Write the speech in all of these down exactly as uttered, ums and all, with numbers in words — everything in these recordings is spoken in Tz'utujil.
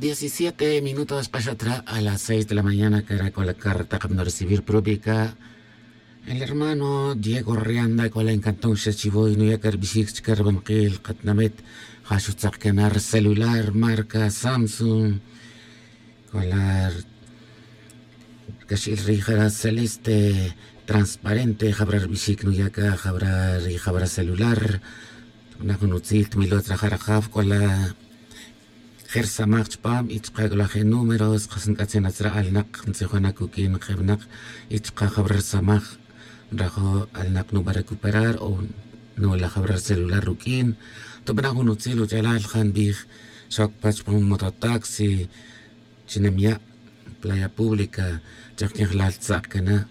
Diecisiete minutos k'axa tra a las seis de la mañana cara' k'ola carta kabino recibir prubica. El hermano diego rianda k'ola encantón xa chivoy nuya' cara bixik chika ribanakil katinamit. Ja xutzak cana ri celular marca samsung. K'ola rkaxil ri jara celeste transparente jabara ri bixik nuya' ca jabara ri jabara celular. Tbana' jun utzil tmilo tzra jara jaf k'ola je' rsamaj chpam y chka' k'ola je' números qas nk'atzin atzra alnaq ntzijona' kuk'in je' winak. Y chka' jabara rsamaj nrajo' alnaq nuba' recuperar o nula' jabara rcelular ruk'in. Tbana' jun utzil uch'alal ja nbij xoc pa chpam mototaxi chi nemya' playa pública. Chak quin jalal tzak' cana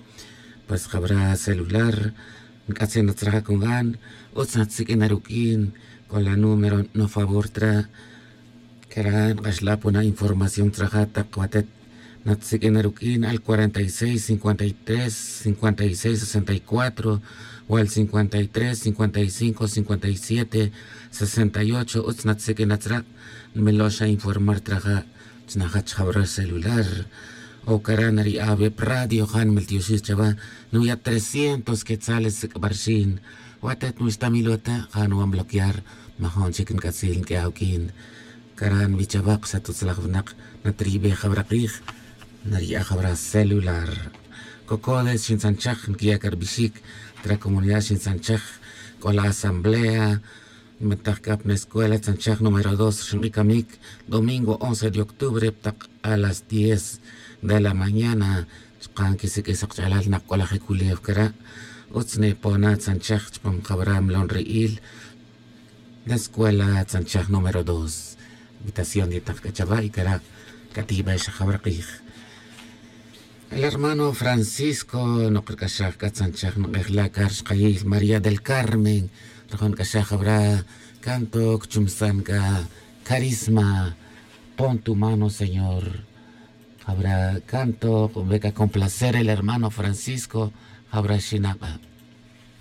pues jabara celular. Nc'atzin natzraja' con gan utz natsiq'uina ruq'uin. C'o la número no favor tra. Cara' nk'axla' pona información traja' tak watet natsiq'uina ruq'uin al cuarenta y seis cincuenta y tres cincuenta y seis sesenta y cuatro, o al cincuenta y tres cincuenta y cinco cincuenta y siete sesenta y ocho. Utz natsiq'uina tzra'. Nmilo xa informar traja' chi najach jawra' celular. O cara' nari'a' wi' pa radio ja nmeltioxij chawa'. Nuya' trescientos quetzales sic'barxin. Watet nwixta milo ta ja nuwan bloquear. Majon chic nc'atzil nq'ue awuq'uin. Cara' nbij chawa' xatutzlaj winak natiribe jawra' kij. Nari'a' jawra' celular. Cocodes xintzanchaj nquiya' ca ribixic. Tra comunidad xintzanchaj. C'o la asamblea. Nbetaj c'a pa nescuela tzanchaj número dos xink'icamic domingo once de octubre pa tak a las diez de la mañana. Chka' nquisiq'uij sak ch'alal nak c'o la je' culew cara'. Utz nipona' tzanchaj chpam jawra' milon ri'il. Nescuela tzanchaj número dos. Invitación yetak c'a chawa' y cara' c'a tiyibe xa jawra' kij. El hermano francisco nok rc'axaj c'a tzanchaj nuk'ej la' car xkayiy maría del carmen. Rajon c'axaj jawra' canto cchumsan c'a carisma. Pon tu mano señor. Jawra' canto cube c'a complacer el hermano francisco. Jawra' xinaba'.